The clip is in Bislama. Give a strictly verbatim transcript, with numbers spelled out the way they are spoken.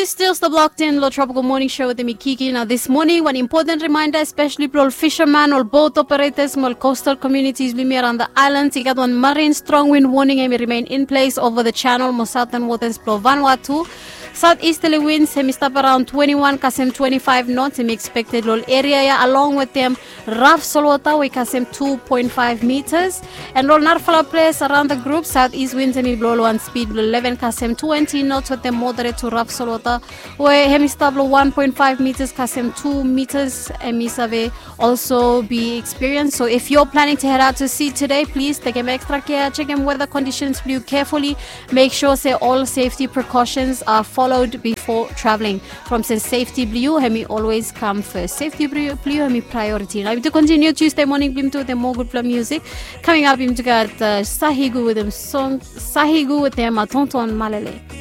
Still stop locked in lo Tropical Morning Show wetem mi Kiki. Now this morning, wan important reminder, especially blo ol fisherman, ol boat operators, mo ol coastal communities blong yumi around the islands. I gat wan marine strong wind warning hemi remain in place over the channel mo southern waters blo Vanuatu. Southeasterly winds hemi stap around twenty-one kasem twenty-five knots hemi expected lo ol area ya, along wetem rough solwota we i kasem two point five meters. And lo ol narafala ples around the group, southeast winds hemi blo lo wan speed blo eleven kasem twenty knots wetem moderate to rough solwota we hemi stap lo one point five meters kasem two meters hemi save also be experienced. So if you're planning to head out to sea today, please tekem extra care, chekem weather conditions blong yu carefully. Make sure se ol safety precautions are followed before traveling. From se safety blong yu hemi always come first. Safety blong yu hemi priority. Nao yumi tu continue Tuesday morning blong yumi tu wetem mo gudfala music. Coming up yumi tu gat uh, Sahigu wetem song Sahigu wetem uh, Tonton Malele.